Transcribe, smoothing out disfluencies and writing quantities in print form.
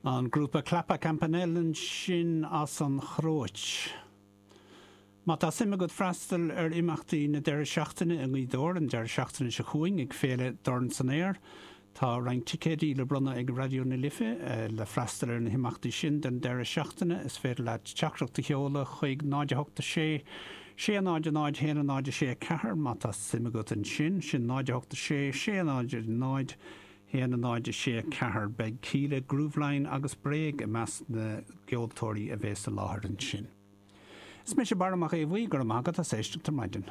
An grúpa Klapa Campanelle ansin as an Chróit. Má tá suim agat freastal ar imeachtaí na deireadh seachtaine i nGaoth Dobhair an deireadh seachtaine seo chugainn ag Féile Dorn san Aer, tá roinnt ticéidí le bronnadh ag Raidió na Life le freastal ar na himeachtaí sin don deireadh seachtaine. Is féidir leat teachtaireacht a sheoladh chuig 0 8 6 6 0 0 1 0 6 4 má tá suim agat ansin. Sin 0 8 6 6 0 0 1 0 6 4 Beidh Kíla, Grooveline agus Bréag i measc na gceoltóirí a bhéas i láthair ansin. Is mise Barra Mac Aodha Bhuí, go raibh maith agat as éisteacht ar maidin.